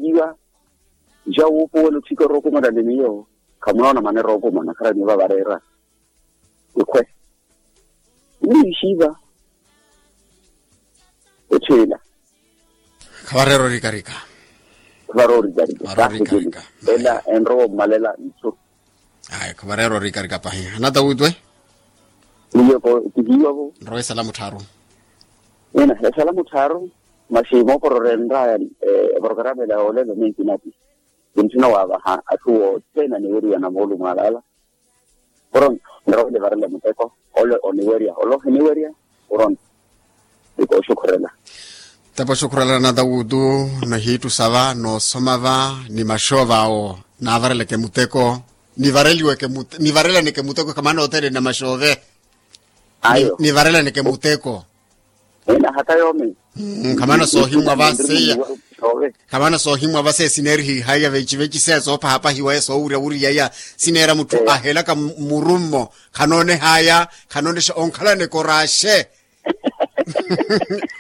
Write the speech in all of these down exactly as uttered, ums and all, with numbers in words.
Iwa ja wuupuwela otthika orookumana ni miyo. Khamunoona manera ookumana kharaniwa vareera. Ikhwe. Niixiva. Etthila. Khavareera orikarika. Khavareera orikarika. Ela enrowa ommalela nthu. Ayi khavareera orikarika pahi anata wutwe. Niyo ko tihiwa vo. Nrowa esala muttharu. Ena esala muttharu. Masi moopororya enraya eporokaramu ela yoolela nenkinati. Kinthuna waavaha atthu othene aniweriwa na moolumo alaala. Pronto nrowa onivarela muteko. Ole oniwerya ole ohiniwerya. Pronto. Nikooxukhurela. Tepa oxukhurela na tawutu. Nahiittusa va noosoma va ni maxoova awo. Naavareleke muteko. Nivareliweke mute- nivarelaneke muteko khamana othene na maxoove. Ayo. Nivarelaneke muteko. Ena hata yoomi. Khamana soohimwa va seiya. Khamana soohimwa va seiya sineerihihaiya veciveci seya soophahapahiwa ya soowurya wuriyaiya. Sineera mutthu ahelaka murummo. Khanoonehaya. Khanoonexa onkhalana ekoraxe.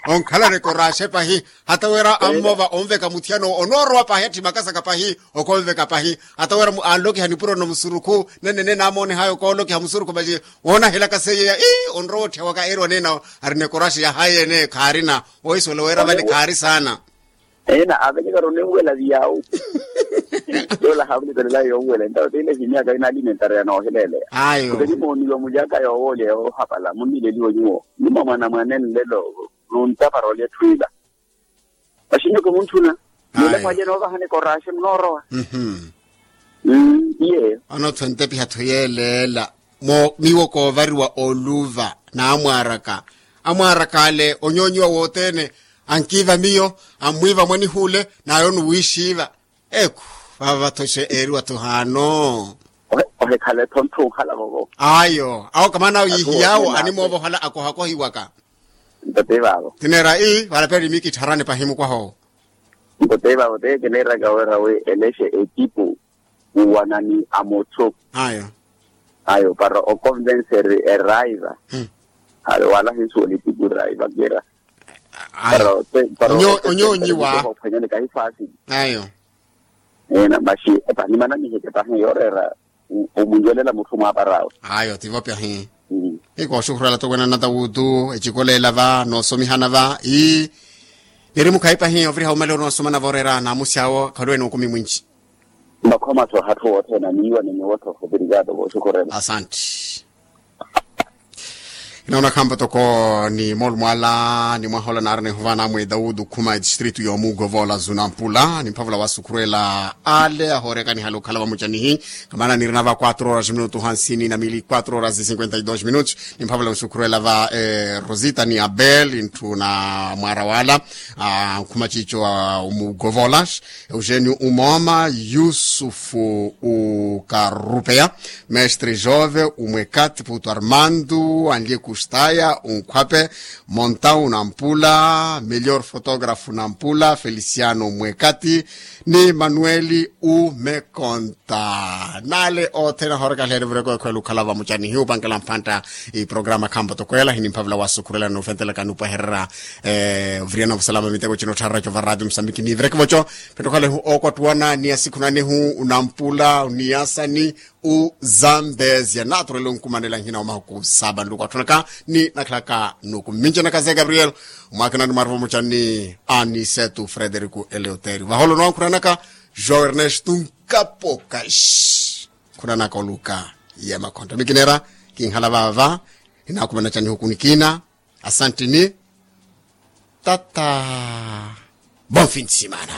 Onkhalana ekoraxe pahi. Hata wira ammova onveka muthiyana onoorowa pahi atthi makasaka pahi. Okonveka pahi hata wira anlokiha nipuro no musurukhu. Nene nene naamoonehaya okoolokiha musurukhu masi. Woonahelaka seiya ii onrowa otthya waka eeriwa nena. Arina ekoraxe yahaya ene khaarina. Oisuwela wira vale khaari saana. Ena avelekari onenwela viyawu. Yoola haavulekelelaye yonwela entawo tiile himyaka ina alimentari yanooheleeleya. Ayo. Kuteni mooniwa mulyaka yoowoolya yoohapala munnileliwa nyuwo. Ni mwa mwanamwane nlelo. Nuntapara olya etthu ila. Maxinyo kimunthuna. Nule mwalya noovahana ekoraxe munoorowa. Iye. Anothwa ntepiha-tho yeeleela. Miwo koovariwa oluva n'amwaaraka. Amwaaraka ale onyoonyiwa wothene. Ankiiva miyo. Ammwiiva mwanihuule. N'ayo onuwiixiiva. Eku. Vaava-tho xe eeriwa-tho haano. Ohekhala-tho ntthu onkhala vovo. Ayo awo kamana awo yiihiyawo animoovohala akohakohiwaka. Nto ti vaavo. Tineera ii valapeli mikittharani pahi mukwaha owo. Nto ti vaavo ti kineeraka wira wi elexe ekipu. Wuwanani a mutthu. Ayo. Ayo para okonvenseri eraiva. Ayo wala hinsuwela ekipu eraiva kira. Para para onyoonyiwa. Ophwanyani kahi faasili. Ayo. Ena maxi epanimana niheke pahi yooreera. Omunyelela mutthu mwaaparawe. Ayo tivo pyahi. Ikooxukhurela towena na tawutu ecikoleela va noosomihana va ii. Niri mukhayi pahi oviriha omale onoosoma na vooreera naamusi awo khaluwene okumi mwinci. Makhoma-tho hatthu wothene aniiwa ni nyuwo-tho ovirikaato vooxukhurela. Asanti. Inaona khampa toko ni moolumo ala ni mwaha ola naarina ehuva namwe daudu khuma etistritu yoomuugovola zunampula ni mphavula wasukhurela ale ahooreka nihala okhala vamucanihi. Kamana nirina va quatro horas minutu hansini na mili quatro horas cinquenta y dos minutos. Ni mphavula nsukhurela va rosita ni abel ntthu na mwaara wala. Nkhuma cico omuugovola. Eugenio umoma yusufu ukarupeya. Mestre jove umwekati putu armando anlie kustaya unkhwape. Montau nampula melhor fotografu nampula feliciano umwekati. Ni manueli umekonta. Nale othene ahooreka alheeri vureko ekhwela okhala vamucanihi upankela mphantta. Iprograma khampa tokwela hinimphavula wasukhurela noofentelaka nupwehererya. Oviriana vusalama miteko cino ottharerya cova ratio musambiki nivireke voco. Phettokhalehu ookottuwana ni asikhunanihu unampula uniyasani uzambezia naturele onkumanela nhina omahuku saba nluku atthunaka ni nakhalaka nuku mmincenaka ze gabriel. Omwakinani mwaruva mucani anisetu frederico eleuterio vaholo nonkhuranaka. João ernesto nkapokaxi. Khunanaka oluka. Yemakhontta mikinera kinhala vava. Inakumana canihuku nikina. Asantini. Tata. Bom fim de semana.